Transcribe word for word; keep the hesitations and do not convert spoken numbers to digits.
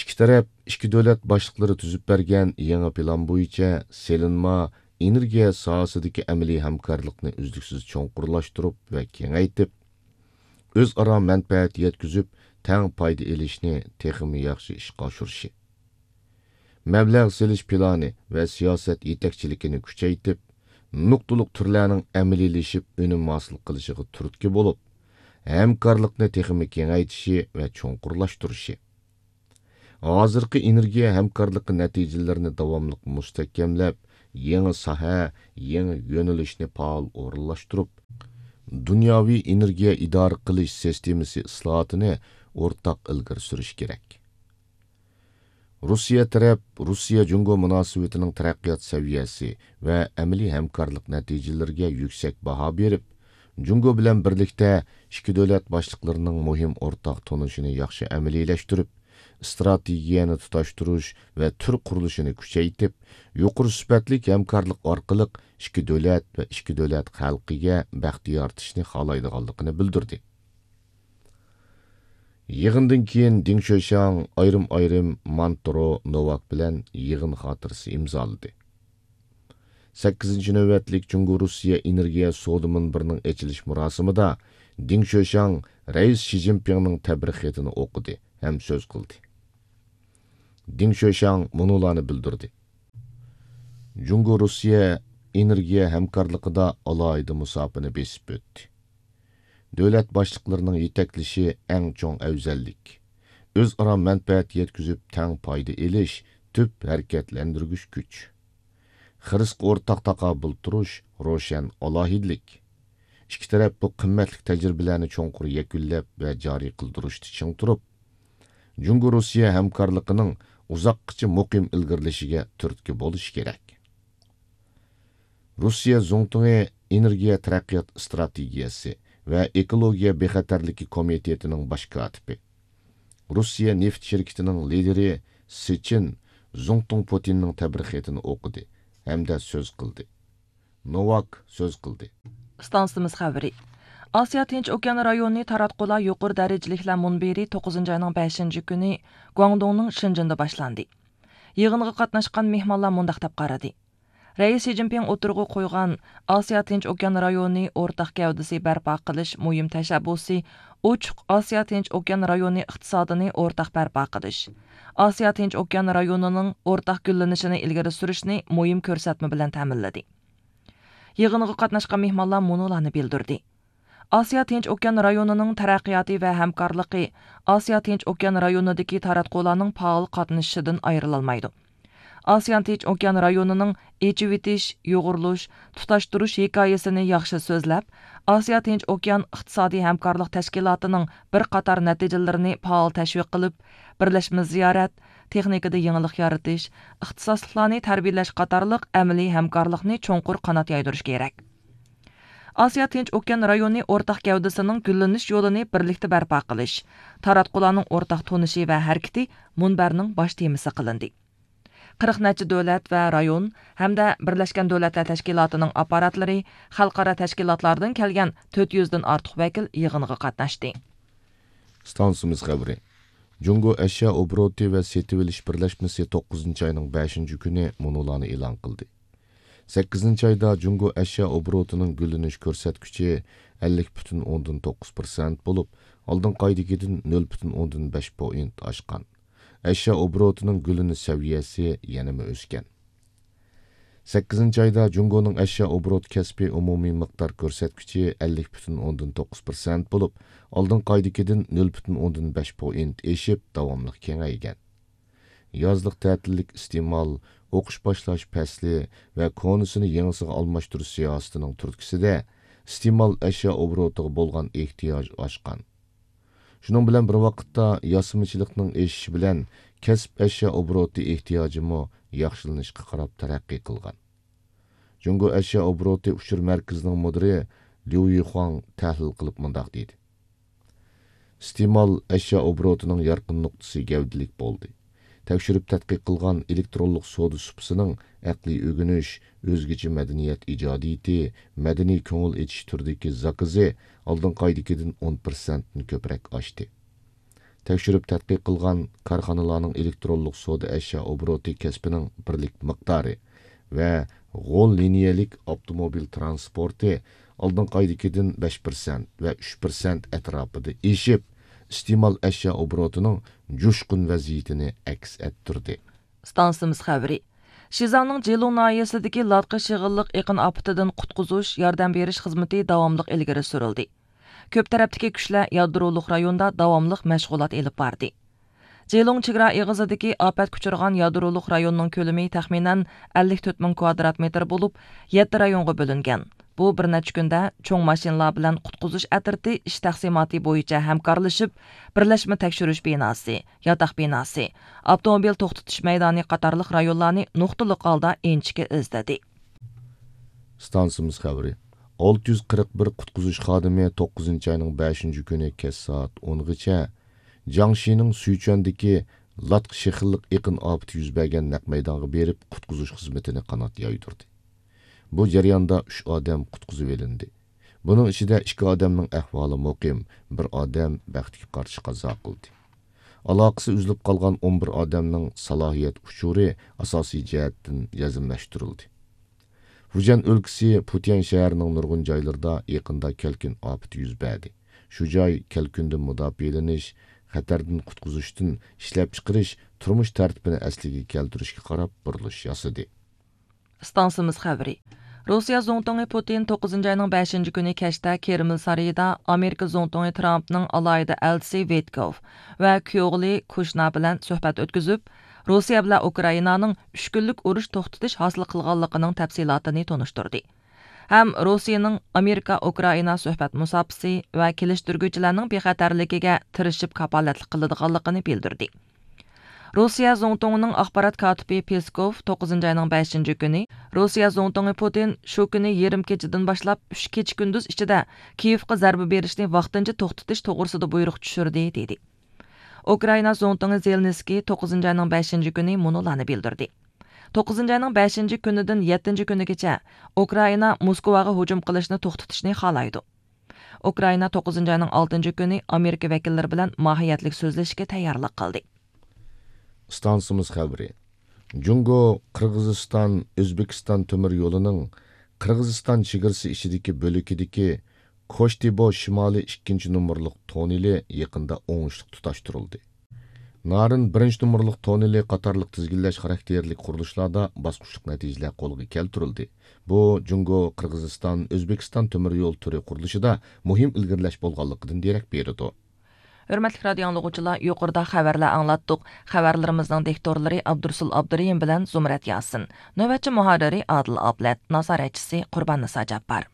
ئىككى تەرەپ، ئىككى دۆلەت باشلىقلىرى تۈزۈپ بەرگەن يېڭى پىلان بويىچە سېلىنما، ئېنېرگىيە ساھەسىدىكى ئەمەلىي ھەمكارلىقنى ئۈزلۈكسىز چوڭقۇرلاشتۇرۇپ ۋە كېڭەيتىپ، ئۆزئارا مەنپەئەت يەتكۈزۈپ، تەڭ پايدا ئېلىشنى تېخىمۇ ياخشى ئىشقا ئاشۇرۇشى، مەبلەغ سېلىش پىلانى ۋە سىياسەت يېتەكچىلىكىنى كۈچەيتىپ، نۇقتىلىق تۈرلەرنىڭ ئەمەلىيلىشىپ ئۈنۈم ھاسىل قىلىشىغا تۈرتكە بولۇپ، ھەمكارلىقنى تېخىمۇ كېڭەيتىشى ۋە چوڭقۇرلاشتۇرۇشى، ھازىرقى ئېنېرگىيە ھەمكارلىقى نەتىجىلىرىنى داۋاملىق مۇستەھكەملەپ، يېڭى ساھە، يېڭى يۆنىلىشنى پائال ئورۇنلاشتۇرۇپ، دۇنياۋى ئېنېرگىيە ئىدارە قىلىش سىستېمىسى ئىسلاھاتىنى ئورتاق ئىلگىرى سۈرۈش كېرەك. روسىيە تەرەپ روسىيە جۇڭگو مۇناسىۋىتىنىڭ تەرەققىيات سەۋىيەسى ۋە ئەمەلىي ھەمكارلىق نەتىجىلىرىگە يۈكسەك باھا بېرىپ، جۇڭگو بىلەن بىرلىكتە ئىككى دۆلەت باشلىقلىرىنىڭ مۇھىم ئورتاق تونۇشىنى ياخشى ئەمەلىيلەشتۈرۈپ، ئىستراتېگىيەنى تۇتاشتۇرۇش ۋە تۈر قۇرۇلۇشىنى كۈچەيتىپ، يۇقىرى سۈپەتلىك ھەمكارلىق ئارقىلىق ئىككى دۆلەت ۋە ئىككى دۆلەت خەلقىگە بەخت يارىتىشنى خالايدىغانلىقىنى بىلدۈردى. يىغىندىن كېيىن دېڭ شۆشياڭ ئايرىم-ئايرىم مانترو نوۋاك بىلەن يىغىن خاتىرىسى ئىمزالىدى. سەككىزىنچى نۆۋەتلىك جۇڭگو روسىيە ئېنېرگىيە سودا مۇنبىرىنىڭ ئېچىلىش مۇراسىمىدا دېڭ شۆشياڭ رەئىس شى جىنپىڭنىڭ تەبرىك خېتىنى ئوقۇدى ھەم سۆز قىلدى. دېڭ شۆشياڭ مۇنۇلارنى بىلدۈردى: جۇڭگو روسىيە ئېنېرگىيە ھەمكارلىقىدا ئالاھىدە مۇساپىنى بېسىپ ئۆتتى. دۆلەت باشلىقلىرىنىڭ يېتەكلىشى ئەڭ چوڭ ئەۋزەللىك. ئۆزئارا مەنپەئەت يەتكۈزۈپ تەڭ پايدا ئېلىش تۈپ ھەرىكەتلەندۈرگۈچ كۈچ. خىرىسقا ئورتاق تاقابىل تۇرۇش روشەن ئالاھىدىلىك. ئىككى تەرەپ بۇ قىممەتلىك تەجرىبىلەرنى چوڭقۇر يەكۈنلەپ ۋە جارى قىلدۇرۇشتا چىڭ تۇرۇپ، جۇڭگو روسىيە ھەمكارلىقىنىڭ ئۇزاققىچە مۇقىم ئىلگىرىلىشىگە تۈرتكە بولۇشى كېرەك. روسىيە زۇڭتۇڭى ئېنېرگىيە تەرەققىيات ئىستراتېگىيەسى ۋە ئېكولوگىيە بىخەتەرلىكى كومىتېتىنىڭ باش كاتىپى، روسىيە نېفىت شىركىتىنىڭ لىدىرى سىچىن زۇڭتۇڭ پۇتىننىڭ تەبرىك خېتىنى ئوقۇدى ھەمدە سۆز قىلدى. نوۋاك سۆز قىلدى. ئىستانسىمىز خەۋىرى. ئاسىيا تىنچ ئوكيان رايونى تاراتقۇلار يۇقىرى دەرىجىلىكلەر مۇنبىرى توققۇزىنچى ئاينىڭ بەشىنچى كۈنى گۇاڭدۇڭنىڭ شېنجېندا باشلاندى. يىغىنغا قاتناشقان مېھمانلار مۇنداق دەپ قارىدى: رەئىس شى جىنپىڭ ئوتتۇرىغا قويغان ئاسىيا تىنچ ئوكيان رايونى ئورتاق گەۋدىسى بەرپا قىلىش مۇھىم تەشەببۇسى ئوچۇق ئاسىيا تىنچ ئوكيان رايونى ئىقتىسادىنى ئورتاق بەرپا قىلىش، ئاسىيا تىنچ ئوكيان رايونىنىڭ ئورتاق گۈللىنىشىنى ئىلگىرى سۈرۈشنى مۇھىم كۆرسەتمە بىلەن تەمىنلىدى. يىغىنغا قاتناشقان مېھمانلار مۇنۇلارنى بىلدۈردى: ئاسىيا تىنچ ئوكيان رايونىنىڭ تەرەققىياتى ۋە ھەمكارلىقى ئاسىيا تىنچ ئوكيان رايونىدىكى تاراتقۇلارنىڭ پائال قاتنىشىشىدىن ئايرىلالمايدۇ. ئاسىيا تىنچ ئوكيان رايونىنىڭ ئېچىۋېتىش، يۇغۇرۇلۇش، تۇتاشتۇرۇش ھېكايىسىنى ياخشى سۆزلەپ، ئاسىيا تىنچ ئوكيان ئىقتىسادىي ھەمكارلىق تەشكىلاتىنىڭ بىر قاتار نەتىجىلىرىنى پائال تەشۋىق قىلىپ، بىرلەشمە زىيارەت، تېخنىكىدا يېڭىلىق يارىتىش، ئىختىساسلىقلارنى تەربىيەلەش قاتارلىق ئەمەلىي ھەمكارلىقنى چوڭقۇر قانات يايدۇرۇش كېرەك. ئاسىيا تىنچ ئوكيان رايونى ئورتاق گەۋدىسىنىڭ گۈللىنىش يولىنى بىرلىكتە بەرپا قىلىش، تاراتقۇلارنىڭ ئورتاق تونۇشى ۋە ھەرىكىتى مۇنبەرنىڭ باش تېمىسى قىلىندى. قىرىق نەچچە دۆلەت ۋە رايون ھەمدە بىرلەشكەن دۆلەتلەر تەشكىلاتىنىڭ ئاپپاراتلىرى، خەلقئارا تەشكىلاتلاردىن كەلگەن تۆت يۈزدىن ئارتۇق ۋەكىل يىغىنغا قاتناشتى. ئىستانسىمىز خەۋىرى. جۇڭگو ئەشيا ئوبوروتى ۋە سېتىۋېلىش بىرلەشمىسى توققۇزىنچى ئاينىڭ بەشىنچى كۈنى مۇنۇلارنى ئېلان قىلدى. سەككىزىنچى ئايدا جۇڭگو ئەشيا ئوبوروتىنىڭ گۈللىنىش كۆرسەتكۈچى ئەللىك پۈتۈن ئوندىن توققۇز پىرسەنت بولۇپ، ئالدىنقى ئايدىكىدىن نۆل پۈتۈن ئوندىن بەش پوينت ئاشقان. ئەشيا ئوبوروتىنىڭ گۈللىنىش سەۋىيەسى يەنىمۇ ئۆسكەن. سەككىزىنچى ئايدا جۇڭگونىڭ ئەشيا ئوبوروت كەسپىي ئومۇمىي مىقدار كۆرسەتكۈچى ئەللىك پۈتۈن ئوندىن توققۇز پىرسەنت بولۇپ، ئالدىنقى ئايدىكىدىن نۆل پۈتۈن ئوندىن بەش پوينت ئېشىپ، داۋاملىق كېڭەيگەن. يازلىق تەتىللىك ئىستېمال، ئوقۇش باشلاش پەسلى ۋە كونىسىنى يېڭىسىغا ئالماشتۇرۇش سىياسىتىنىڭ تۈرتكىسىدە، ئىستېمال ئەشيا ئوبوروتىغا بولغان ئېھتىياج ئاشقان. شۇنىڭ بىلەن بىر ۋاقىتتا، ياسىمىچىلىقنىڭ ئېشىشى بىلەن كەسىپ ئەشيا ئوبوروتى ئېھتىياجىمۇ ياخشىلىنىشقا قاراپ تەرەققىي قىلغان. جۇڭگو ئەشيا ئوبوروتى ئۇچۇر مەركىزىنىڭ مۇدىرى ليۇ يىخۇاڭ تەھلىل قىلىپ مۇنداق دېدى: ئىستېمال ئەشيا ئوبوروتىنىڭ يارقىن نۇقتىسى گەۋدىلىك بولدى. تەكشۈرۈپ تەتقىق قىلغان ئېلېكترونلۇق سودا سۇپىسىنىڭ ئەقلىي ئۆگىنىش، ئۆزگىچە مەدەنىيەت ئىجادىيىتى، مەدەنىي كۆڭۈل ئېچىش تۈرىدىكى زاكىزى ئالدىنقى ئايدىكىدىن ئون پىرسەنتتىن كۆپرەك ئاشتى. تەكشۈرۈپ تەتقىق قىلغان كارخانىلارنىڭ ئېلېكترونلۇق سودا ئەشيا ئوبوروتى كەسپىنىڭ بىرلىك مىقدارى ۋە غول لىنىيەلىك ئاپتوموبىل تىرانسپورتى ئالدىنقى ئايدىكىدىن بەش پىرسەنت ۋە ئۈچ پىرسەنت ئەتراپىدا ئېشىپ، ئىستېمال ئەشيا ئوبوروتىنىڭ جۇشقۇن ۋەزىيىتىنى ئەكس ئەتتۈردى. ئىستانسىمىز خەۋىرى. شىزاڭنىڭ جىلۇڭ ناھىيەسىدىكى لاتقا شېغىللىق ئېقىن ئاپىتىدىن قۇتقۇزۇش، ياردەم بېرىش خىزمىتى داۋاملىق ئىلگىرى سۈرۈلدى. كۆپ تەرەپتىكى كۈچلەر يادرولۇق رايوندا داۋاملىق مەشغۇلات ئېلىپ باردى. جىلۇڭ چېگرا ئېغىزىدىكى ئاپەتكە ئۇچرىغان يادرولۇق رايوننىڭ كۆلىمى تەخمىنەن ئەللىك تۆت مىڭ كۋادرات مېتىر بولۇپ، يەتتە رايونغا بۆلۈنگەن. بۇ بىر نەچچە كۈندە چوڭ ماشىنىلار بىلەن قۇتقۇزۇش ئەترىتى ئىش تەقسىماتى بويىچە ھەمكارلىشىپ، بىرلەشمە تەكشۈرۈش بىناسى، ياتاق بىناسى، ئاپتوموبىل توختىتىش مەيدانى قاتارلىق رايونلارنى نۇقتىلىق ھالدا ئىنچىكە ئىزدىدى. ئىستانسىمىز خەۋىرى. ئالتە يۈز قىرىق بىر قۇتقۇزۇش خادىمى توققۇزىنچى ئاينىڭ بەشىنچى كۈنى كەچ سائەت ئونغىچە جياڭشىنىڭ سۈيچۈەندىكى لاتقا شېخىللىق ئېقىن ئاپىتى يۈز بەرگەن نەق مەيدانغا بېرىپ، قۇتقۇزۇش خىزمىتىنى قانات يايدۇردى. بۇ جەرياندا ئۈچ ئادەم قۇتقۇزۇۋېلىندى. بۇنىڭ ئىچىدە ئىككى ئادەمنىڭ ئەھۋالى مۇقىم، بىر ئادەم بەختكە قارشى قازا قىلدى. ئالاقىسى ئۈزۈلۈپ قالغان ئون بىر ئادەمنىڭ سالاھىيەت ئۇچۇرى ئاساسىي جەھەتتىن يەزمىلەشتۈرۈلدى. فۇجيەن ئۆلكىسى پۇتيەن شەھىرىنىڭ نۇرغۇن جايلىرىدا يېقىندا كەلكۈن ئاپىتى يۈز بەردى. شۇ جاي كەلكۈندىن مۇداپىئەلىنىش، خەتەردىن قۇتقۇزۇشتىن ئىشلەپچىقىرىش، تۇرمۇش تەرتىپىنى ئەسلىگە كەلتۈرۈشكە قاراپ بۇرۇلۇش ياسىدى. ئىستانسىمىز خەۋىرى. روسىيە زۇڭتۇڭى پۇتىن توققۇزىنچى ئاينىڭ بەشىنچى كۈنى كەچتە كرېمل سارىيىدا ئامېرىكا زۇڭتۇڭى ترامپنىڭ ئالاھىدە ئەلچىسى ۋىتكوف ۋە كۈيئوغلى كۇشنا بىلەن سۆھبەت ئۆتكۈزۈپ، روسىيە بىلەن ئۇكرائىنانىڭ ئۈچ كۈنلۈك ئۇرۇش توختىتىش ھاسىل قىلغانلىقىنىڭ تەپسىلاتىنى تونۇشتۇردى ھەم روسىيىنىڭ ئامېرىكا ئۇكرائىنا سۆھبەت مۇساپىسى ۋە كېلىشتۈرگۈچىلەرنىڭ بىخەتەرلىكىگە تىرىشىپ كاپالەتلىك قىلىدىغانلىقىنى بىلدۈردى. روسىيە زۇڭتۇڭىنىڭ ئاخبارات كاتىپى پېسكوف توققۇزىنچى ئاينىڭ بەشىنچى كۈنى، روسىيە زۇڭتۇڭى پۇتىن شۇ كۈنى يېرىم كېچىدىن باشلاپ ئۈچ كېچە كۈندۈز ئىچىدە كىيېۋقا زەربە بېرىشنى ۋاقتىنچە توختىتىش توغرىسىدا بۇيرۇق چۈشۈردى، دېدى. ئۇكرائىنا زۇڭتۇڭى زېلېنسكىي توققۇزىنچى ئاينىڭ بەشىنچى كۈنى مۇنۇلارنى بىلدۈردى. توققۇزىنچى ئاينىڭ بەشىنچى كۈنىدىن يەتتىنچى كۈنىگىچە ئۇكرائىنا موسكۋاغا ھۇجۇم قىلىشنى توختىتىشنى خالايدۇ. ئۇكرائىنا توققۇزىنچى ئاينىڭ ئالتىنچى كۈنى ئامېرىكا ۋەكىللىرى بىلەن ماھىيەتلىك سۆزلىشىشكە تەييارلىق قىلدى. ئىستانسىمىز خەۋىرى. جۇڭگو، قىرغىزىستان، ئۆزبېكىستان تۆمۈر يولىنىڭ قىرغىزىستان چېگرىسى ئىچىدىكى بۆلىكىدىكى كوشتىبو شىمالىي ئىككىنچى نومۇرلۇق توننېلى يېقىندا ئوڭۇشلۇق تۇتاشتۇرۇلدى. نارىن بىرىنچى نومۇرلۇق توننېلى قاتارلىق تىزگىنلەش خاراكتېرلىك قۇرۇلۇشلاردا باسقۇچلۇق نەتىجىلەر قولغا كەلتۈرۈلدى. بۇ جۇڭگو، قىرغىزىستان، ئۆزبېكىستان تۆمۈر يول تۈرى قۇرۇلۇشىدا مۇھىم ئىلگىرىلەش بولغانلىقىدىن دېرەك بېرىدۇ. ھۆرمەتلىك رادىيو ئاڭلىغۇچىلار، يۇقىرىدا خەۋەرلەر ئاڭلاتتۇق. خەۋەرلىرىمىزنىڭ دىكتورلىرى ئابدۇرۇسۇل ئابدۇرېھىم بىلەن زۇمرەت ياسىن. نۆۋەتچى مۇھەررىرى ئادىل ئابلەت، نازارەتچىسى قۇربان نىسا جاپپار.